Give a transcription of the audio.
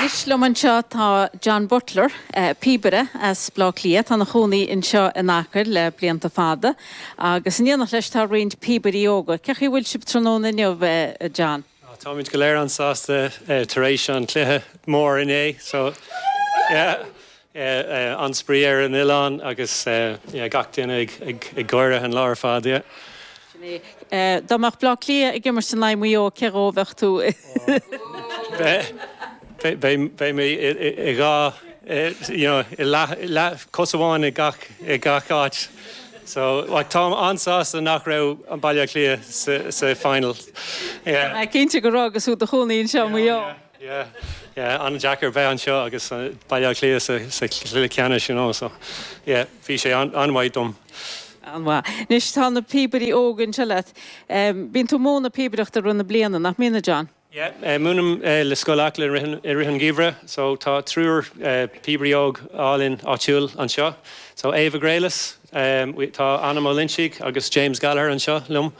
Anois liom anseo tá John Butler, píobaire as Baile Átha Cliath. Tá ina chónaí anseo in Acaill le blianta fada agus in éineacht leis tá roinnt píobairí óga. Cén chaoi a bhfuil sibh tráthnóna inniu, a John? Táimid go léir an-sásta tar éis an cluiche mór inné so yeah an-spraoi ar an oileán agus yeah gach duine ag gáire an lá ar fad yeah. Sin é. Dá mbeadh Bleá Cliath ag imirt in aghaidh Mhaigh Eo, cé dhó a bheadh tú? Beidh mé i dhá, you know, i leath, cos amháin i gach, i gach áit. So, like, táim an-sásta nach raibh an Baile Átha Cliath sa, sa final. Yeah. Tá mé cinnte go raibh agus tú i do chónaí anseo i Maigh Eo. Yeah, yeah, an-deacair bheith anseo agus Baile Átha Cliath sa, sa chluiche ceannais, you know, so, yeah, bhí sé an-mhaith dom. An-mhaith. Anois tá na píobairí óga anseo leat. Bíonn tú ag múineadh píobaireachta i rith na bliana, nach mbíonn, a John? Yeah, múinim le Scoil Acla i rith an gheimhridh, so tá triúr píobairí óg álainn áitiúil anseo. So Ava Graylis, tá Anna Ó Loinsigh agus James Gallagher anseo liom.